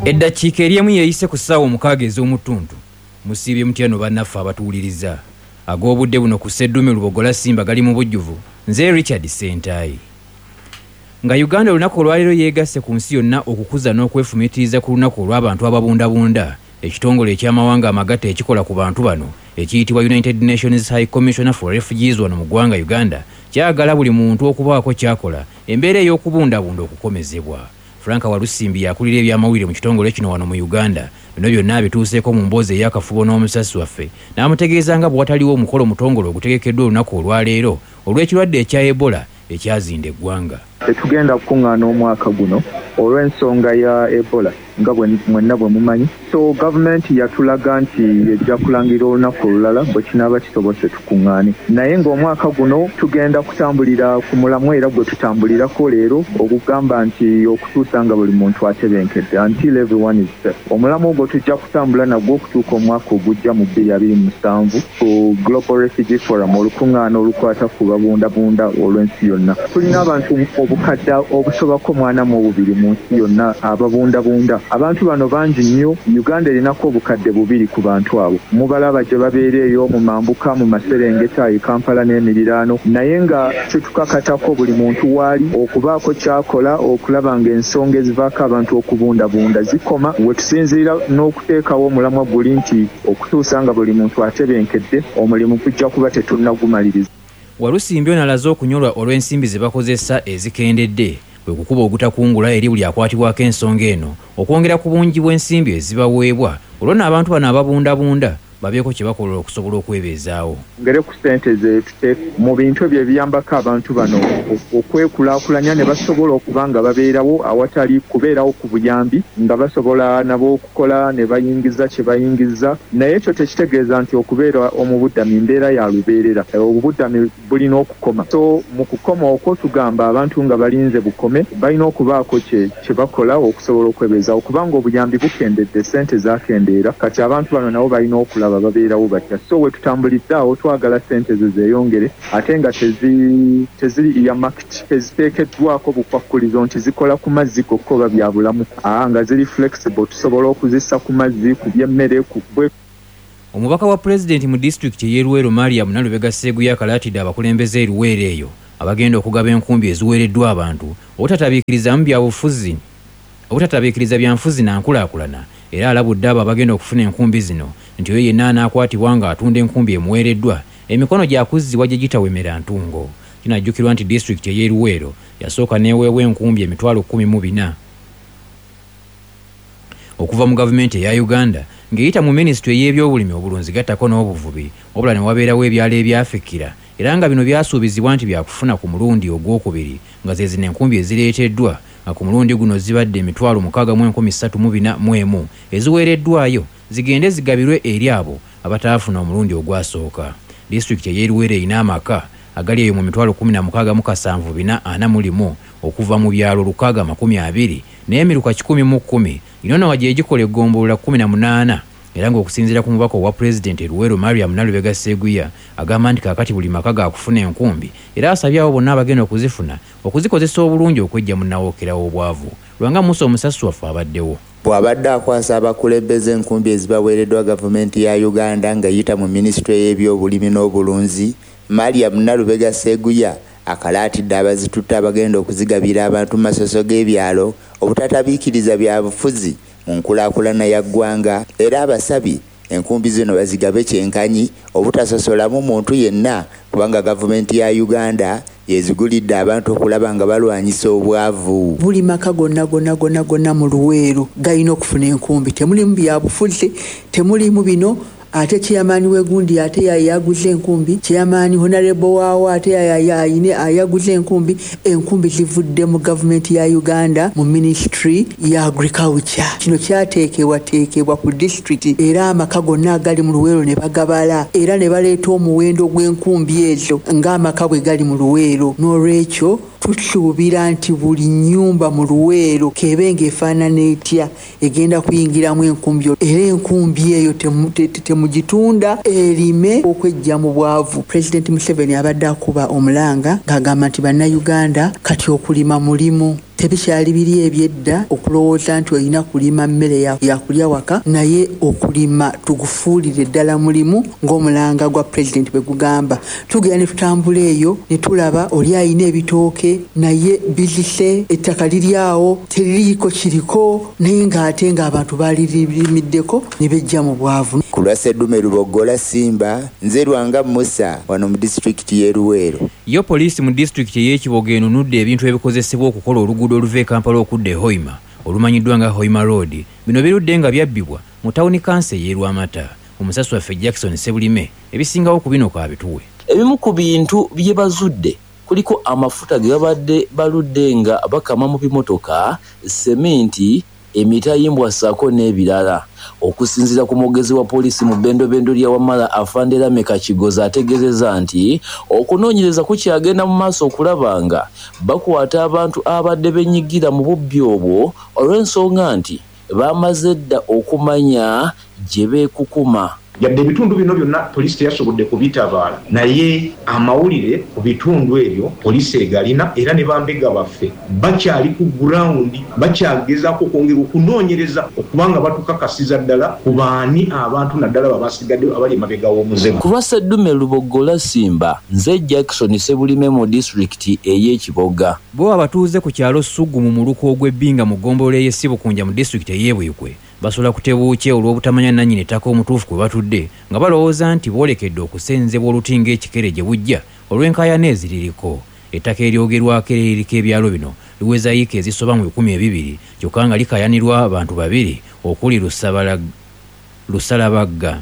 Eddakiika eri emu yeeyise ku ssaawa 6 ez'omuttuntu. Musiibye mutya no bannaffe abatuwuliriza? Ag'obudde buno ku Sseddume Lubogola Simba gali mu bujjuvu. Nze Richard Ssentaayi. Nga Uganda olunaku olwaleero yeegasse ku nsi yonna okukuza n'okwefumiitiriza ku lunaku olw'abantu ababundabunda, ekitongole eky'amawanga amagatte ekikola ku bantu bano ekiyitibwa United Nations High Commissioner for Refugees wano mu ggwanga Uganda kyagala buli muntu okubaako ky'akola embeera ey'okubundabunda okukomezebwa. Frank Walusimbi y'akulira eby'amawulire mu kitongole kino wano mu Uganda. Bino byonna abituuseeko mu mboozi ey'akafubo n'omusasi waffe n'amutegeeza nga bwe wataliwo omukolo mutongole ogutegekeddwa olunaku olwaleero olw'ekirwadde ekya Ebola ekyazinda eggwanga. Tetugenda kukungaana omwaka guno olw'ensonga ya Ebola nga mwenna bwe mumanyi. So gavumenti yatulaga nti ejja kulangirira olunaku olulala bwe kinaaba kisobose tukungaane. Naye ng'omwaka guno tugenda kutambulira ku mulamwa era gwe tutambulirako leero ogugamba nti okutuusa nga buli muntu atebenkedde, until everyone is safe. Omulamwa ogwo tujja kutambula nagwo okutuuka omwaka ogujja mu 2027 ku Global Refugee Forum, olukungaana olukwata ku babundabunda olw'ensi yonna. Tulina abantu obukadde obusobako 42 mu nsi yonna ababundabunda. Abantu bano bangi nnyo. Uganda erinako obukadde 2 ku bantu abo. Mubalaba gye babeera eyo mu mambuka, mu maserengeta, e Kampala n'emiriraano. Naye nga kitukakatako buli muntu waali okubaako ky'akola okulaba ng'ensonga ezivaako abantu okubundabunda zikoma. We tusinziira n'okuteekawo omulamwa guli nti okutuusa nga buli muntu atebenkedde, omulimu gujja kuba tetunnagumaliriza. Walusimbi ono alaze okunyolwa olw'ensimbi ze bakozesa ezikendedde, kwe kukuba ogutakungula eri buli akwatibwako ensonga eno okwongera ku bungi bw'ensimbi ezibaweebwa olwo nno abantu bano ababundabunda babeeko kye bakola okusobola okwebeezaawo. Twongere ku ssente ze tuteeka mu bintu ebyo ebiyambako abantu bano okwekulaakulanya ne basobola okuba nga babeerawo awatali kubeerawo ku buyambi nga basobola nabo okukola ne bayingiza kye bayingiza. Naye ekyo tekitegeeza nti okubeera omubuddami mbeera ya lubeerera. Obubuddami bulina okukoma. So mu kukoma okwo tugamba abantu nga balinze bukome balina okubaako kye bakola okusobola okwebeezaawo kubanga obuyambi bukendedde, ssente zakendeera kati abantu bano nabo balina okulaba babeerawo batya. So we tutambulidde awo twagala ssente ezo zeeyongere ate nga teziri earmarked, teziteekeddwako bukwakkulizo nti zikola ku mazzi gokka oba bya bulamu, aa nga ziri flexible tusobola okuzissa ku mazzi, ku by'emmere, ku bwe. Omubaka wa Pulezidenti mu disitulikiti ey'e Luweero Mariam Nalubega Sseguya akalaatidde abakulembeze e Luweero eyo abagenda okugaba enkumbi eziweereddwa abantu obutatabiikirizamu byabufuzi obutatabiikiriza byanfuzi na nkulaakulana era alabudde abo abagenda okufuna enkumbi zino nti oyo yenna anaakwatibwa ng'atunda enkumbi emuweereddwa emikono gyakuzzibwa gye gitawemera ntungo. Kinajjukirwa nti disitulikiti ey'e Luweero yasooka n'eweebwa enkumbi 14000 okuva mu gavumenti eya Uganda ng'eyita mu minisitule ey'ebyobulimi, obulunzi gattako n'obuvubi, wabula ne wabeerawo ebyalo ebyafikira era nga bino byasuubizibwa nti byakufuna ku mulundi ogwokubiri nga ze zino enkumbi ezireeteddwa nga ku mulundi guno zibadde 63,341 eziweereddwayo zigende zigabirwe eri abo abataafuna omulundi ogwasooka. Disitulikiti ey'e Luweero erina amaka agali eyo mu 167,441 okuva mu byalo 620 n'emiruka 110 gino nga gye gikola eggombolola 18 era ng'okusinziira ku mubaka owa Pulezidenti e Luweero Mariam Nalubega Sseguya agamba nti kaakati buli maka gaakufuna enkumbi era asabye abo bonna abagenda okuzifuna okuzikozesa obulungi okweggya mu nnawookera w'obwavu. Lwanga Musa omusasi waffe abaddewo. Bw'abadde akwasa abakulembeze enkumbi ezibaweereddwa gavumenti ya Uganda ng'eyita mu minisitule y'ebyobulimi n'obulunzi, Mariam Nalubega Sseguya akalaatidde abazitutte abagenda okuzigabira abantu mu masoso g'ebyalo obutatabiikiriza byabufuzi mu nkulaakulana ya ggwanga era abasabye enkumbi zino bazigabe kyenkanyi obutasosolamu muntu yenna kubanga gavumenti ya Uganda yezigulidde abantu okulaba nga balwanyisa obwavu. Buli maka gonna gonna gonna gonna mu Luweero galina okufuna enkumbi. Temulimu byabufuzi, temulimu bino ate chairman w'egundi ate yaguze enkumbi, chairman honorable waawo ate ayaguze enkumbi. Enkumbi zivudde mu gavumenti ya Uganda mu ministry ya agriculture. Kino kyateekebwateekebwa ku disitulikiti era amaka gonna agali mu Luweero ne bagabala era ne baleeta omuwendo gw'enkumbi ezo ng'amaka bwe gali mu Luweero. N'olwekyo tusuubira nti buli nnyumba mu Luweero k'ebe ng'efaanana etya egenda kuyingiramu enkumbi era enkumbi eyo temugitunda erime okweggya mu bwavu. Pulezidenti Museveni abadde akuba omulanga ng'agamba nti bannayuganda kati okulima mulimu. Tebikyali biri ebyedda okulowooza nti olina kulima mmere yakulya waka, naye okulima tugufuulire ddala mulimu ng'omulanga gwa pulezidenti bwe gugamba. Tugenda ne tutambula eyo ne tulaba oli alina ebitooke naye bizise, ettaka liri awo teririiko kiriko, naye ng'ate ng'abantu balirimiddeko ne bejja mu bwavu. Ku lwa Sseddume Lubogola Simba, nze Lwanga Musa wano mu disitulikiti y'e Luweero. Yo poliisi mu disitulikiti ey'Ekiboga enunudde ebintu ebikozesebwa okukola oluguudo oluva e Kampala okudda e Hoima olumanyiddwa nga Hoima Road. Bino birudde nga byabbibwa mu tawuni kanso ey'e Lwamata. Omusasi waffe Jackson Ssebulime ebisingawo ku bino kaabituwe. Ebimu ku bintu bye bazudde kuliko amafuta ge babadde baludde nga bakama mu bimotoka, seminti, emitayimbwa ssaako n'ebirala. Okusinziira ku mwogezi wa poliisi mu bbendobendo lya Wamala Afande Lameka Kigozi ategeezezza nti okunoonyereza kukyagenda mu maaso okulaba nga bakwata abantu abadde benyigira mu bubbi obwo olw'ensonga nti baamaze dda okumanya gye beekukuma. Yadde ebitundu bino byonna poliisi teyasobodde kubitabaala naye amawulire ku bitundu ebyo poliisi egalina era ne bambega baffe bakyali ku ground bakyagezaako okwongera okunoonyereza okuba nga batukakasiza ddala ku baani abantu naddala abo abasigadde abali emabega w'omuze Ku lwa Sseddume Luboggola Simba, nze Jackson Ssebulime mu disitulikiti ey'e Kiboga. Bo abatuuze ku kyalo Ssugu mu muluka ogw'e Bbinga mu ggombolola ey'e Ssebukunja mu disitulikiti ey'e Buikwe basula kutebuukye olw'obutamanya nnannyini ttaka omutuufu kwe batudde nga balowooza nti boolekedde okusenzebwa oluti ng'ekikere gye bujja olw'enkaayana eziririko. Ettaka eryogerwako era eririko ebyalo bino liweza yiika ezisoba mu 2000 kyokka nga likaayanirwa bantu babiri okuli Lusalabagga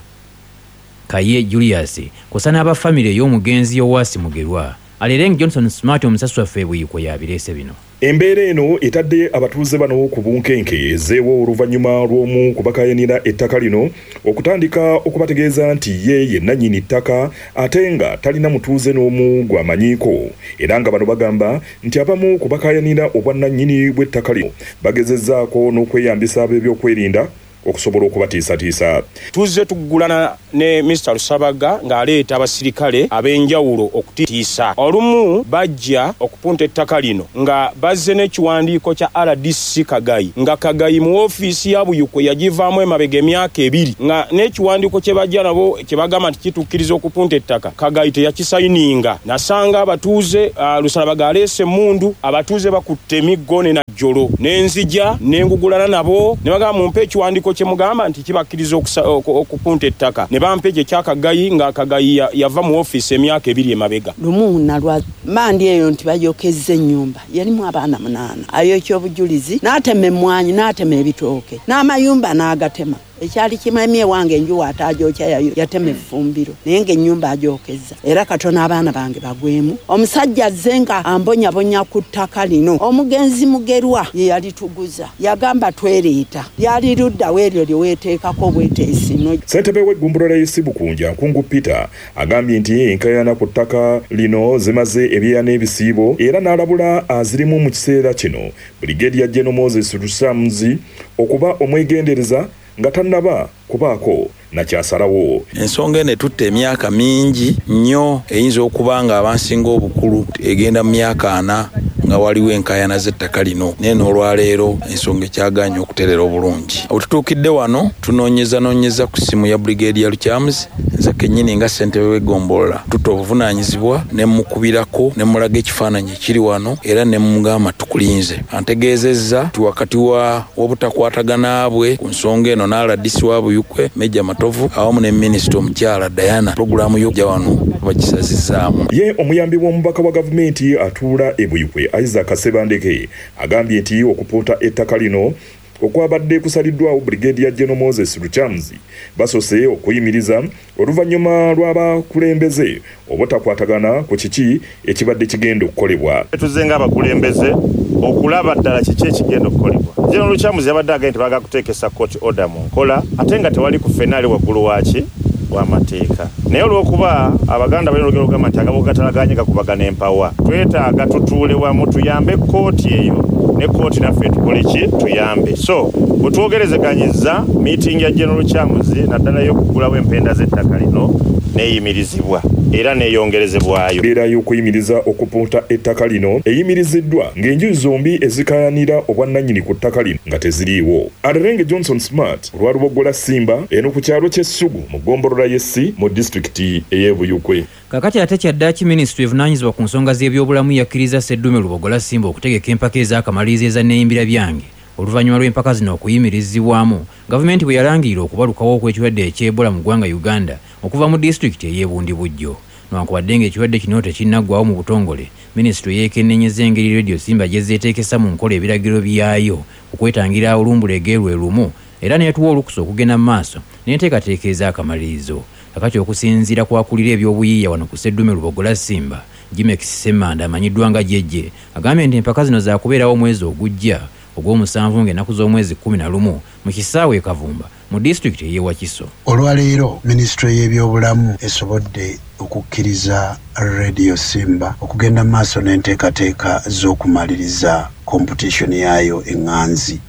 Kaye Julius kw'ossa n'aba famire ey'omugenzi Yowaasi Mugerwa. Alereng Johnson Smart omusasi waffe e Buikwe y'abireese bino. Embeera eno etadde abatuuze bano ku bunkenke ezzeewo oluvannyuma lw'omu ku bakaayanira ettaka lino okutandika okubategeeza nti ye ye nnannyini ttaka ate nga talina mutuuze n'omu gw'amanyiiko era nga bano bagamba nti abamu ku bakaayanira obwannannyini bw'ettaka lino bagezezzaako n'okweyambisa ab'ebyokwerinda okusobola okubatiisatiisa. Tuzze tuggulana ne Mister Lusabaga ng'aleeta abasirikale ab'enjawulo okutiisa. Olumu bajja okupunta ettaka lino nga bazze n'ekiwandiiko kya rdc Kagayi nga Kagayi mu woofiisi ya Buyukwe yagivaamu emabega emyaka ebiri nga n'ekiwandiiko kye bajja nabo kye bagamba nti kitukkiriza okupunta ettaka Kagayi teyakisayininga. Nasanga abatuuze, Lusalabaga aleese emmundu, abatuuze bakutte emiggo ne Najjolo ne nzija ne ngugulana nabo ne bagamba mumpe ekiwandiiko kye mugamba nti kibakkiriza okupunta ettaka ne bampa ekyo ekya Kagayi nga Kagayi yava mu woofiisi emyaka ebiri emabega. Lumu nalwa mmandi eyo nti bayokezza ennyumba yalimu abaana munaana, ayokya obujulizi n'atema emmwanyi n'atema ebitooke n'amayumba n'agatema. Ekyali kimemye ewange enju w'ataagyokya yatema effumbiro naye ng'ennyumba agyokezza era katono abaana bange bagwemu. Omusajja azze nga ambonyabonya ku ttaka lino. Omugenzi Mugerwa ye yalituguza yagamba twereeta lyali ludda wa eryo lye weeteekako obweteesi no. Ssentebe w'eggombolola y'e Ssebukunja, Nkungu Peter agambye nti enkaayana ku ttaka lino zimaze ebyeya n'ebisiibo era n'alabula azirimu mu kiseera kino Brigadier General Moses Lusamuzi okuba omwegendereza nga tannaba kubaako na ky'asalawo. Ensonga eno etutte emyaka mingi nnyo eyinza okuba nga abansinga obukulu egenda mu myaka ana nga waliwo enkaayana z'ettaka lino naye n'olwaleero ensonga ekyagaanye okutereera obulungi. Wetutuukidde wano tunoonyezanoonyeza ku ssimu ya Brigadier Lukyamuzi nze kennyini nga ssentebe w'eggombolola tutte obuvunaanyizibwa ne mmukubirako ne mmulaga ekifaananyi ekiri wano era ne mmugamba tukulinze. Antegeezezza nti wakati wa w'obutakwatagana bwe ku nsonga eno ne rdc wa Buikwe Major Matovu awamu ne minisita omukyala Diana pulogulaamu y'okujja wano bagisazizzaamu. Ye omuyambi w'omubaka wa gavumenti atuula e Buikwe Isaac Ssebandeke agambye nti okupunta ettaka lino okwabadde kusaliddwawo Brigadier General Moses Lukyamuzi basose okuyimiriza oluvannyuma lw'abakulembeze obutakwatagana ku kiki ekibadde kigenda okukolebwa. Tuzze ng'abakulembeze okulaba ddala kiki ekigenda okukolebwa. General Lukyamuzi yabadde agambye nti baagala kuteekesa court order mu nkola ate nga tewali ku ffenna ali waggulu waaki w'amateeka. Naye olw'okuba Abaganda balina olugero olugamba nti agabo gatalaganye gakubagana empawa, twetaaga tutuule wamu tuyambe kkooti eyo ne kkooti naffe tukole ki tuyambe. So Bwe twogerezeganyizza miitingi ya General Lukyamuzi naddala y'okuggulawo empenda z'ettaka lino neeyimirizibwa era neeyongerezebwayo. Embeera y'okuyimiriza okupunta ettaka lino eyimiriziddwa ng'enjuyi zombi ezikaayanira obwannannyini ku ttaka lino nga teziriiwo. Alerenge Johnson Smart olwa Luboggola Simba eno ku kyalo ky'e Ssugu mu ggombolola y'e Ssi mu disitulikiti ey'e Buyukwe. Kaakati ate kyaddaaki minisitule evunaanyizibwa ku nsonga z'ebyobulamu yakkiriza Sseddume Lubogola Simba okutegeka empaka ez'akamalirizo eza Neeyimbira Byange oluvannyuma lw'empaka zino okuyimirizibwamu gavumenti bwe yalangirira okubalukawo okw'ekirwadde eky'Ebola mu ggwanga Uganda okuva mu disitulikiti ey'e Bundibugyo. Newankubadde ng'ekirwadde kino tekinnaggwaawo mu butongole, minisitule yeekenneenyezza engeri Radio Simba gy'ezze eteekesa mu nkola ebiragiro byayo okwetangira olumbulege lwe lumu era n'etuwa olukusa okugenda mu maaso n'enteekateeka ez'akamalirizo. Kakati okusinziira ku akulira ebyobuyiiya wano ku Sseddume Lubogola Simba, Jimex Ssemanda amanyiddwa nga Jejje, agambye nti empaka zino zaakubeerawo omwezi ogujja ogw'omusanvu ng'ennaku z'omwezi 11 mu kisaawe e Kavumba mu disitulikiti ey'e Wakiso. Olwaleero minisitule y'ebyobulamu esobodde okukkiriza Radio Simba okugenda mu maaso n'enteekateeka z'okumaliriza competition yaayo eŋŋanzi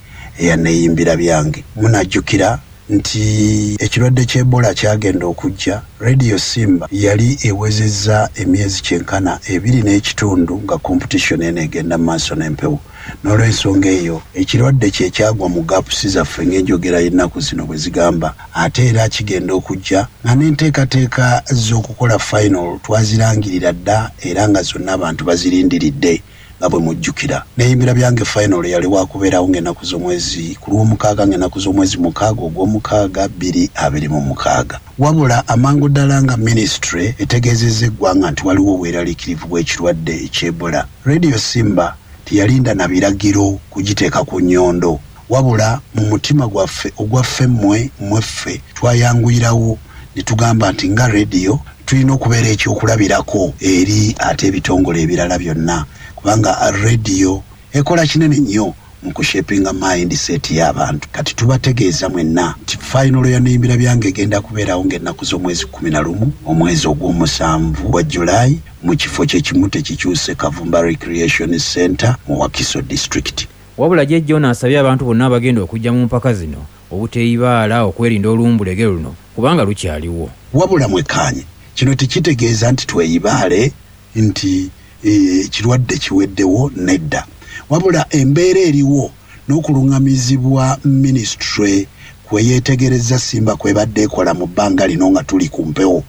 eya Neeyimbira Byange. Munajjukira nti ekirwadde ky'Ebola kyagenda okujja, Radio Simba yali ewezezza emyezi kyenkana 2 n'ekitundu nga competition eno egenda mu maaso n'empewo. N'olwensonga eyo ekirwadde kye kyagwa mu gaps zaffe ng'enjogera y'ennaku zino bwe zigamba, ate era kigenda okujja nga n'enteekateeka z'okukola final twazirangirira dda era nga zonna abantu bazirindiridde. Nga bwe mujjukira, Neeyimbira Byange final yali wakubeerawo ng'ennaku z'omwezi ku Lwomukaaga ng'ennaku z'omwezi 6 ogw'omukaaga 2026. Wabula amangu ddala nga minisitule etegeezezza eggwanga nti waliwo obweraliikirivu bw'ekirwadde eky'Ebola, Radio Simba teyalinda na biragiro kugiteeka ku nnyondo, wabula mu mutima gwaffe ogwaffe mmwe mmweffe twayanguyirawo ne tugamba nti nga radio tulina okubeera ekyokulabirako eri ate ebitongole ebirala byonna, kubanga radio ekola kinene nnyo mu kushapinga mindset y'abantu. Kati tubategeeza mwenna nti final ya Neeyimbira Byange egenda kubeerawo ng'ennaku z'omwezi 11 omwezi ogw'omusanvu gwa Julayi mu kifo kyekimu tekikyuse, Kavumba Recreation Center mu Wakiso District. Wabula Jjejja ono asabye abantu bonna abagenda okujja mu mpaka zino obuteeyibaala okwerinda olumbulege luno kubanga lukyaliwo. Wabula mwekkaanye, kino tekitegeeza nti tweyibaale nti ekirwadde kiweddewo, nedda. Wabula embeera eriwo n'okuluŋŋamizibwa minisitule kwe yeetegereza Simba kwebadde ekola mu bbanga lino nga tuli ku mpewo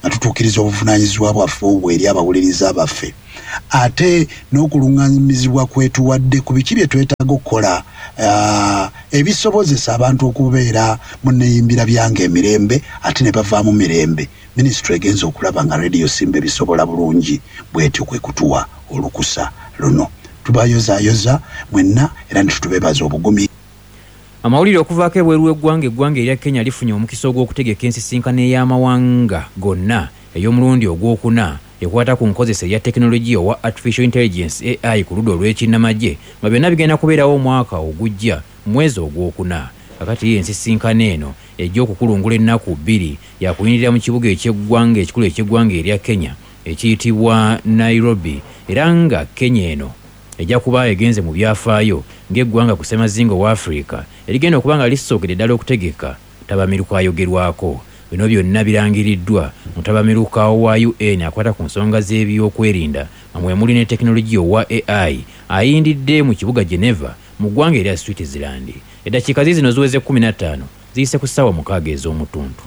nga tutuukiriza obuvunaanyizibwa bwaffe obwo eri abawuliriza baffe, ate n'okuluŋŋamizibwa kwetuwadde ku biki bye twetaaga okukola ebisobozesa abantu okubeera mu Neeyimbira Byange emirembe ate ne bavaamu mirembe. Minisitule egenza okulaba nga Radio Simba ebisobola bulungi, bwetyo kwe kutuwa olukusa luno. Tubayozaayoza mwenna era ne tutubeebaza obugumi. Amawulire okuvaako ebweru w'eggwanga. Eggwanga erya Kenya lifunye omukisa ogw'okutegeka ensisinkano ey'amawanga gonna ey'omulundi ogwokuna ekwata ku nkozesa eya tekinologiya owa artificial intelligence, AI, ku ludda olw'ekinnamagye, nga byonna bigenda kubeerawo omwaka ogujja mu mwezi ogwokuna. Kakati ensisinkano eno ejja okukulungula ennaku 2 yakuyindirira mu kibuga ekyeggwanga ekikulu ekyeggwanga erya Kenya ekiyitibwa Nairobi, era nga Kenya eno ejja kuba egenze mu byafaayo ng'eggwanga ku ssemazinga owa Afirika erigenda okuba nga lisookedde ddala okutegeka tabamiruka ayogerwako. Bino byonna birangiriddwa mutabamiruka wa UN akwata ku nsonga z'ebyokwerinda nga mwe muli ne tekinologiya owa AI ayindidde mu kibuga Geneva mu ggwanga erya Switzerland. Eddakiika ziizino ziweze 15 ziyise ku ssaawa 6 ez'omutuntu.